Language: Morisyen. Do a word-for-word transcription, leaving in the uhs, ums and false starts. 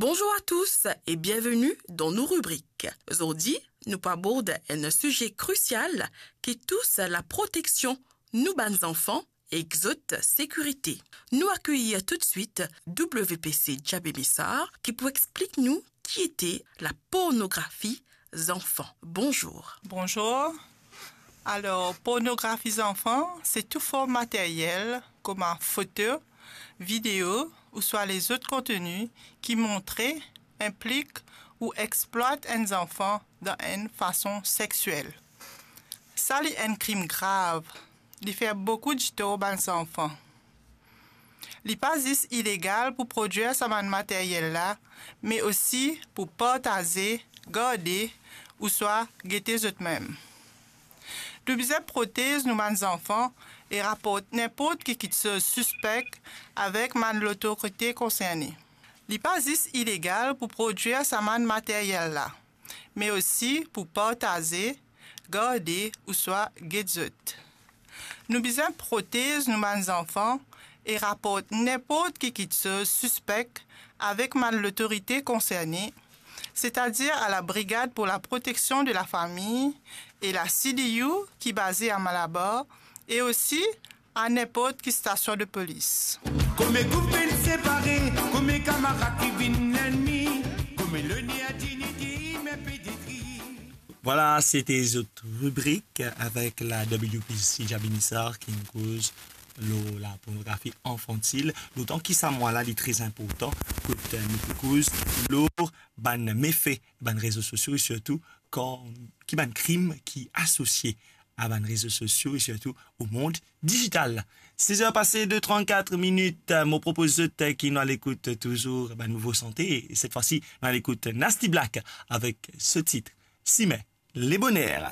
Bonjour à tous et bienvenue dans nos rubriques. Zordi, nou pou abord enn size krisial ki tous laproteksion nou bann zanfan ek zot sekirite. Nou akeyir toutswit W P C Djabé Missar ki pou explik nou ki ete lapornografi zanfan. Bonzour. Bonzour. Alor, pornografi zanfan, se tou form materyel, kouma foto, video ouswa lezot konteni ki montre, inplik ou explwat enn zanfan dan enn fason sexiel. Sa li enn krim grav, li fer boukou ditor bann zanfan. Li pa zis ilegal pou prodwir sa bann materyel la, me osi pou partaze, garde ouswa gete zot mem. Nou bizin protez nou bann zanfan e raport ninport ki kiksoz sispek avek bann lotorite konserne. Li pa zis ilegal pou prodwir sa bann materyel la, me osi pou partaze, garde ouswa get zot. Nou bizin protez nou bann zanfan e raport ninport ki kiksoz sispek avek bann lotorite konserne, setadir a la Brigade pour la protection de la famille e la C D U ki baze a Malabar, e osi a ninport ki stasion de polis. Koumadir koumsa vinn separe, koumadir kamarad ki vinn lennmi, koumadir lone a dignite, me pe detri. Vwala, sete zot ribrik avek la W P C Djabé Missar ki inn koz lor lapornografi anfantil. Dotan ki sa mwa la, li tre inportan, kot, eh, nou pou koz lor bann mefe bann rezo sosio e sirtou kan, ki bann krim ki asosie a bann rezo sosio e sirtou o mond dizital. Sez er pase de trannkat minit, mo propoz zot ki nou al ekout touzour bann nouvo sante. Set fwa si, nou al ekout Nasty Black avek so tit Simen Leboner.